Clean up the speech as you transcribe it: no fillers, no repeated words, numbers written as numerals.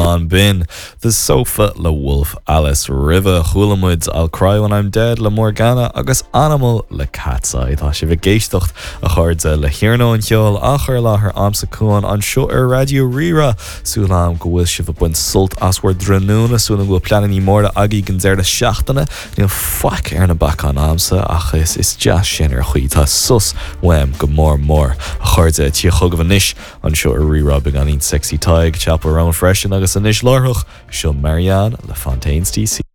Lán Binn, The Sofa le Wolf Alice. Roimhe, chuala muid I'll Cry When I'm Dead le Morgana agus Animal le Katseye. Tá sibh ag éisteacht, a chairde, le hIarnóin Cheoil á chur i láthair a'msa Cuan anseo ar Raidió Rí-Rá. Súil a'm go bhfuil sibh ag baint sult as bhur dtráthnóna, súil a'm go bhfuil pleanannaí móra agaibh don deireadh seachtaine. Níl faic ar na bacáin a'msa ach is is deas sin ar chaoi. Tá sos uaim go mór mór. A chairde, ag tíocht chugaibh anois anseo ar Rí-Rá beagáinín Sexy Tadhg, Chappell Roan freisin agus anois láithreach, seo Marianne le Fontaines DC.